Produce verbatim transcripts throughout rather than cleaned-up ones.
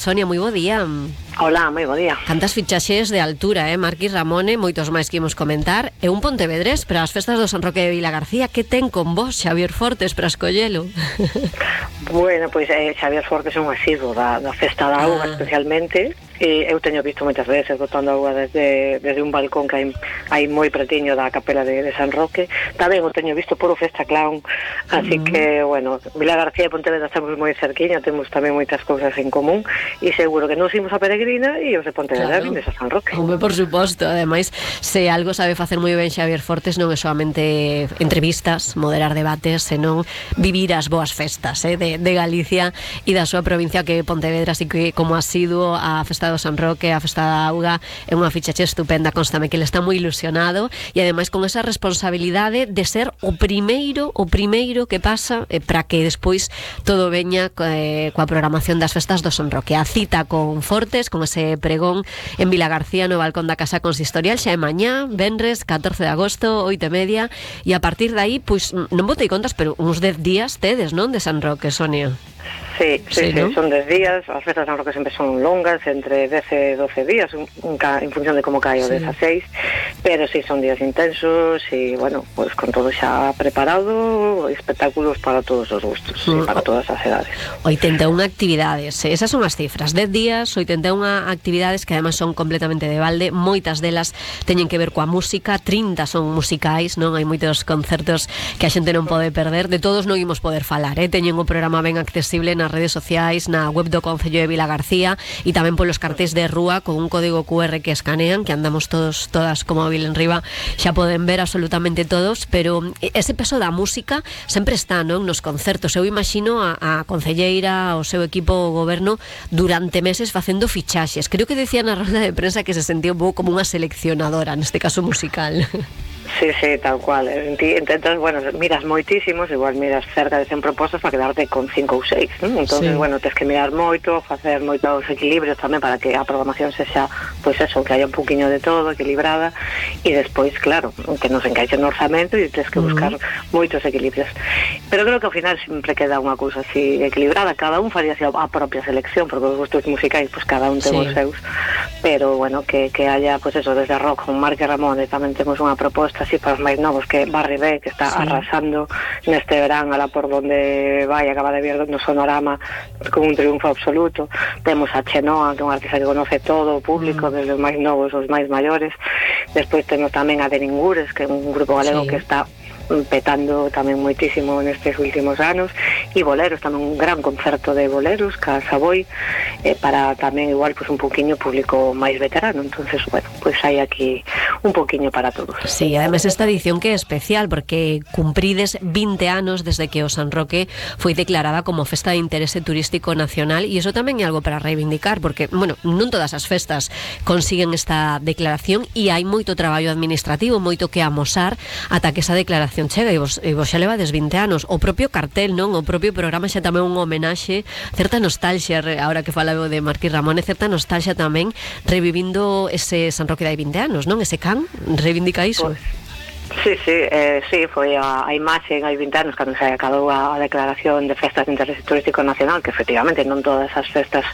Sonia, moi bo día. Hola, moi bo día. Cantas fichaxes de altura, eh? Marquis Ramone, moitos máis que imos comentar. E un pontevedrés para as festas do San Roque de Vilagarcía. Que ten con vos, Xavier Fortes, para escollelo? Bueno, pois eh, Xavier Fortes é un asiduo da, da festa da auga, ah. especialmente. E eu teño visto moitas veces botando auga desde, desde un balcón que hai, hai moi pretiño da capela de, de San Roque. Tamén o teño visto polo Festa Clown. Así uh-huh. que, bueno, Vilagarcía e Pontevedra estamos moi cerquiña, temos tamén moitas cousas en común. E seguro que nos imos a Peregrina e os de Pontevedra claro. Vindes a San Roque. Home, por suposto. Ademais, se algo sabe facer moi ben Xavier Fortes, non é solamente entrevistas, moderar debates, senón vivir as boas festas eh, de, de Galicia e da súa provincia, que Pontevedra, así que como asiduo a festa do San Roque, a festa da auga, é unha fichaxe estupenda. Constame que ele está moi ilusionado e ademais con esa responsabilidade de ser o primeiro o primeiro que pasa eh, para que despois todo veña eh, coa programación das festas do San Roque. A cita con Fortes, con ese pregón en Vilagarcía no balcón da Casa Consistorial, xa é mañá, venres, catorce de agosto, oito e media, e a partir de aí, pois, non botei contas, pero uns dez días tedes, non, de San Roque, Sonia? Sí, sí, sí, ¿no? Son dez días. As festas de San Roque sempre son longas, entre dez e doce días, un, un ca, en función de como cae o sí. dezaseis, pero sí, son días intensos e, bueno, pues con todo xa preparado, espectáculos para todos os gustos mm. e para todas as edades. oitenta e unha actividades, esas son as cifras, dez días, oitenta e unha actividades que además son completamente de balde, moitas delas teñen que ver coa música, trinta son musicais, non? Hai moitos concertos que a xente non pode perder, de todos non imos poder falar, eh? Teñen o programa ben accesible nas redes sociais, na web do Concello de Vilagarcía e tamén polos cartéis de rúa con un código cu erre que escanean, que andamos todos, todas como móvil en riba, xa poden ver absolutamente todos, pero ese peso da música sempre está, non? Nos concertos. Eu imagino a, a concelleira, o seu equipo, o goberno, durante meses facendo fichaxes. Creo que decía na rolda de prensa que se sentía un pouco como unha seleccionadora, neste caso musical. Sí, sí, tal cual. Intentas, bueno, miras moitísimos, igual miras cerca de cen propostas para quedarte con cinco ou seis, ¿no? Entonces, sí. bueno, tens que mirar moito, facer moitos equilibrios tamén para que a programación sexa, pois pues eso, que haya un poquinho de todo, equilibrada, e despois, claro, que nos encaixe no orzamento e tens que buscar uh-huh. moitos equilibrios. Pero creo que ao final sempre queda unha cousa así equilibrada, cada un faría así a propia selección, porque os gustos musicais, pues cada un ten sí. os seus, pero bueno, que, que haya, pues eso, desde rock con Marquis Ramone, tamén temos unha proposta así para os máis novos, que Barry B, que está sí. arrasando neste verán, alá por donde vai, acaba de ver no Sonorama con un triunfo absoluto. Temos a Chenoa, que é unha artista que conoce todo o público, mm. desde os máis novos aos máis maiores. Despois temos tamén a Deningures, que é un grupo galego sí. que está petando tamén moitísimo nestes últimos anos, e boleros, tamén un gran concerto de boleros, ca Savoy, eh, para tamén igual pues un poquinho público máis veterano. Entonces, bueno, pues hai aquí un poquinho para todos. Sí, además esta edición que é especial porque cumprides vinte anos desde que o San Roque foi declarada como festa de interese turístico nacional, e iso tamén é algo para reivindicar, porque, bueno, non todas as festas consiguen esta declaración e hai moito traballo administrativo, moito que amosar ata que esa declaración chega, e vos, e vos xa levades vinte anos. O propio cartel, non? O propio programa xa tamén un homenaxe, certa nostalgia, ahora que falaba de Marquis Ramone, certa nostalgia tamén, revivindo ese San Roque de hai vinte anos, non? Ese can, reivindica iso. Pues Sí, sí, eh, sí, foi a, a imaxe en hai vinte anos cando se acabou a, a declaración de festas de interese turístico nacional, que efectivamente non todas as festas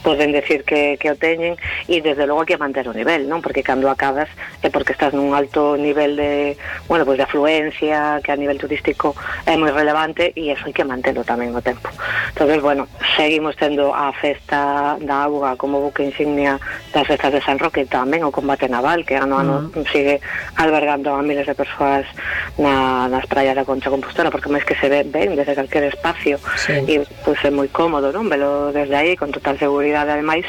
poden decir que, que o teñen, e desde logo hai que manter o nivel, non? Porque cando acabas é porque estás nun alto nivel de, bueno, pues de afluencia, que a nivel turístico é moi relevante, e eso hai que mantelo tamén o tempo. Entonces, bueno, seguimos tendo a festa da auga como buque insignia das festas de San Roque, tamén o combate naval, que ano a ano mm. sigue albergando a miles de persoas na, nas praias da Concha Compostora, porque máis que se ve ben desde calquer espacio sí. e pues, é moi cómodo, non? Velo desde aí con total seguridade ademais,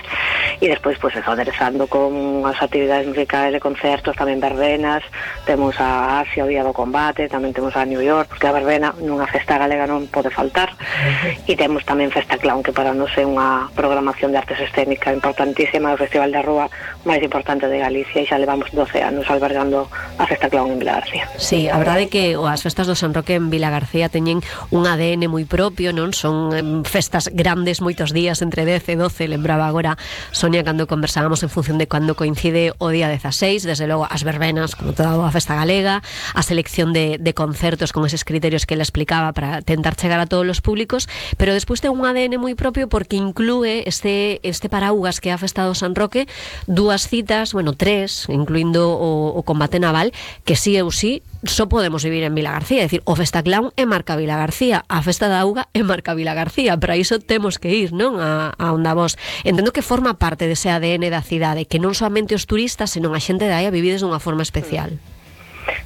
e despois pues, eso, aderezando con as actividades musicais de concertos, tamén verbenas, temos a Asia, o Día do Combate, tamén temos a New York, porque a verbena nunha festa galega non pode faltar, uh-huh. e temos tamén Festa Clown, que para nos é unha programación de artes escénicas importantísima, o festival da rúa máis importante de Galicia, e xa levamos doce anos albergando a Festa Clown en Vilagarcía. Sí, a verdade é que as festas do San Roque en Vilagarcía teñen un A D N moi propio, non? Son festas grandes, moitos días, entre dez e doce, lembraba agora Sonia Sonia, cando conversábamos en función de cando coincide o día dezaseis, desde logo as verbenas, como toda a festa galega, a selección de, de concertos con eses criterios que ele explicaba para tentar chegar a todos os públicos, pero despois ten un A D N moi propio porque inclúe este, este paraugas que é a festa do San Roque, dúas citas, bueno, tres, incluindo o, o combate naval, que sí ou sí só podemos vivir en Vilagarcía, é dicir, o Festa Clown é marca Vilagarcía, a Festa da Auga é marca Vilagarcía, para iso temos que ir, non, a, a onda vos. Entendo que forma parte dese A D N da cidade, que non soamente os turistas, senón a xente da aí a vivides dunha forma especial.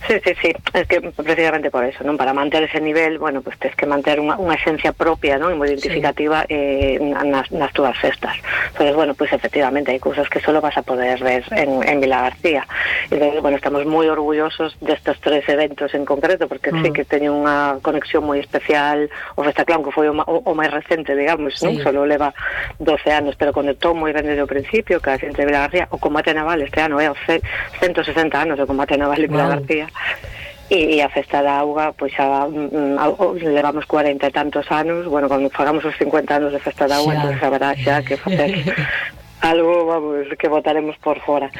Sí, sí, sí, es que precisamente por eso, non? Para manter ese nivel, bueno, pues tens que manter unha, unha esencia propia, non? E moi identificativa, sí. eh, nas, nas túas festas. Entonces, bueno, pues efectivamente hai cousas que solo vas a poder ver en, en Vilagarcía. Entonces, bueno, estamos moi orgullosos destes tres eventos en concreto, porque mm. sí que teñen unha conexión moi especial. O Festa Clown, que foi o, o, o máis recente, digamos, sí. non? Solo leva doce anos, pero conectou moi ben desde o principio, que a xente de Vilagarcía. O combate naval este ano é o ciento sesenta anos do combate naval en Vilagarcía. Wow. E a festa da auga, pois xa um, levamos cuarenta e tantos anos. Bueno, cando fagamos os cincuenta anos de festa da auga, entón haberá xa que facer algo, vamos, que votaremos por fora.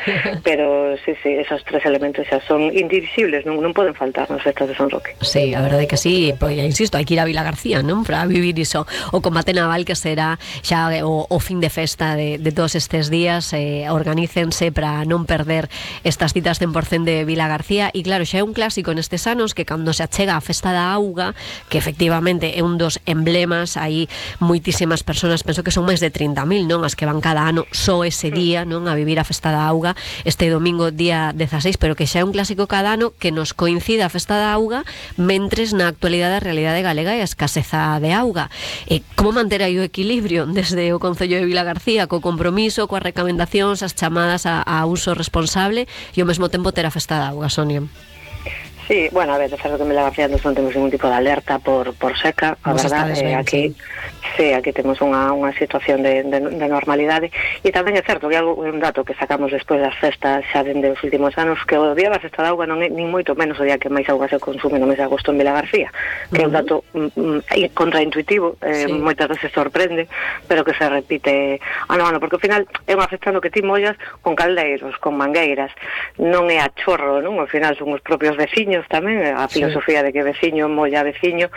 Pero sí, sí, esos tres elementos xa son indivisibles, non, non poden faltar nas festas de San Roque. Sí, a verdade é que sí, pois, insisto, hai que ir a Vilagarcía, non? Para vivir iso. O combate naval que será xa o, o fin de festa de, de todos estes días, eh, organícense para non perder estas citas cen por cento de Vilagarcía. E claro, xa é un clásico nestes anos que cando se achega a festa da auga, que efectivamente é un dos emblemas, hai moitísimas persoas, penso que son máis de trinta mil, non? As que van cada ano só ese día, non, a vivir a festa da auga este domingo día dezaseis, pero que xa é un clásico cada ano que nos coincida a festa da auga mentres na actualidade a realidade galega e a escaseza de auga. E como manter aí o equilibrio desde o Concello de Vilagarcía co compromiso, coas recomendacións, as chamadas a, a uso responsable e ao mesmo tempo ter a festa da auga, Sonia? Sí, bueno, a ver, de certo que en Vilagarcía non temos ningún tipo de alerta por, por seca, a verdade, eh, aquí sí, aquí temos unha, unha situación de, de, de normalidade, e tamén é certo que é un dato que sacamos despois das festas xa dende os últimos anos, que o día da festa da auga non é nin moito menos o día que máis auga se consume no mes de agosto en Vilagarcía, que uh-huh. é un dato mm, contraintuitivo, eh, sí. moitas veces sorprende, pero que se repite ano a ano, porque ao final é unha festa no que ti mollas con caldeiros, con mangueiras, non é a chorro, non? Ao final son os propios veciños tamén, a filosofía sí. de que veciño molla veciño,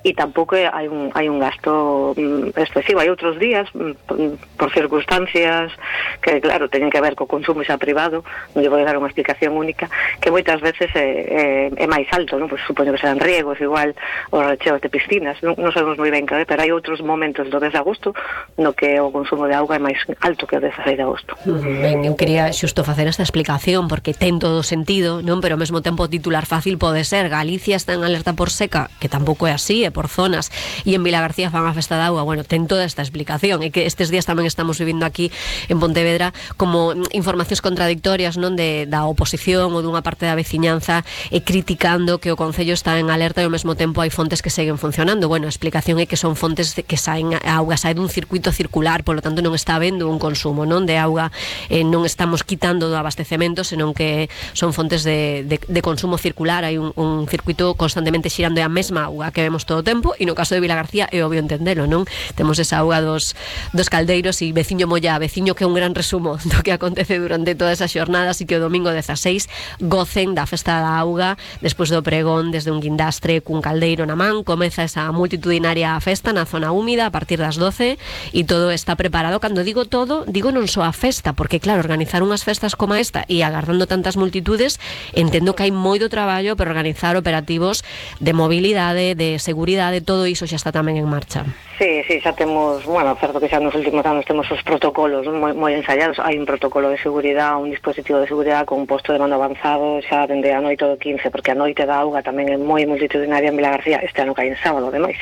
e tampouco hai un, hai un gasto mm, excesivo. Hai outros días mm, por circunstancias que claro, teñen que ver co consumo xa privado, non lle vou dar unha explicación única, que moitas veces é, é, é máis alto, non? Pois supoño que serán riegos, igual os recheos de piscinas, non, non sabemos moi ben que, pero hai outros momentos do mes de agosto no que o consumo de auga é máis alto que o dezaseis de agosto. Ben, eu quería xusto facer esta explicación porque ten todo sentido, non? Pero ao mesmo tempo titular fácil pode ser, Galicia está en alerta por seca, que tampouco é así, é por zonas, e en Vilagarcía fan a festa da auga. Bueno, ten toda esta explicación, é que estes días tamén estamos vivindo aquí en Pontevedra como informacións contradictorias, non, de, da oposición ou dunha parte da veciñanza e criticando que o Concello está en alerta e ao mesmo tempo hai fontes que seguen funcionando. Bueno, a explicación é que son fontes que saen, a auga sae dun circuito circular, polo tanto non está habendo un consumo, non, de auga, eh, non estamos quitando do abastecemento, senón que son fontes de, de, de consumo circular. Hai un, un circuito constantemente xirando a mesma auga que vemos todo o tempo, e no caso de Vilagarcía é obvio entendelo, non? Temos esa auga dos, dos caldeiros e veciño molla a veciño, que é un gran resumo do que acontece durante todas esas xornadas, e que o domingo dezaseis gocen da festa da auga despois do pregón desde un guindastre cun caldeiro na man. Comeza esa multitudinaria festa na zona húmida a partir das doce e todo está preparado. Cando digo todo, digo non só a festa, porque claro, organizar unhas festas como esta e agardando tantas multitudes, entendo que hai moito traballo para organizar operativos de mobilidade, de seguridade, todo iso xa está tamén en marcha. Sí, sí, xa temos, bueno, certo que xa nos últimos anos temos os protocolos moi, moi ensayados. Hai un protocolo de seguridade, un dispositivo de seguridade con un posto de mando avanzado xa dende a noite do quince, porque a noite da auga tamén é moi multitudinaria en Vilagarcía, este ano cae en sábado, ademais.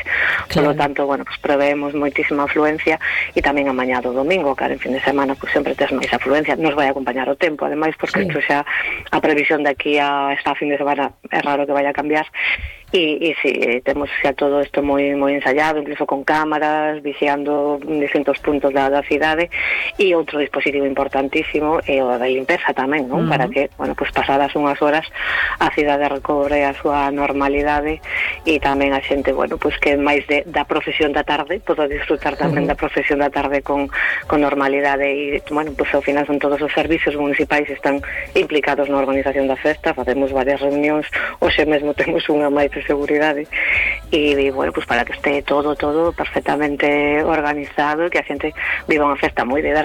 Claro. Por lo tanto, bueno, pues preveemos moitísima afluencia, e tamén a mañá do domingo, cara, en fin de semana, pues sempre tes máis afluencia. Nos vai acompañar o tempo, ademais, porque sí. Isto xa a previsión de aquí a esta fin de semana é raro que vaya a cambiar. e, e si, sí, temos xa todo isto moi moi ensayado, incluso con cámaras, vixiando distintos puntos da, da cidade, e outro dispositivo importantísimo é o da limpeza tamén, non? Uh-huh. Para que, bueno, pues pasadas unhas horas a cidade recobre a súa normalidade e tamén a xente, bueno, pues que máis de, da profesión da tarde poda disfrutar tamén uh-huh. da profesión da tarde con, con normalidade e, bueno, pues ao final son todos os servicios municipais están implicados na organización da festa, facemos varias reunións, hoxe mesmo temos unha máis de seguridade e, e bueno, pues para que este todo, todo perfectamente organizado e que a xente viva unha festa moi divertida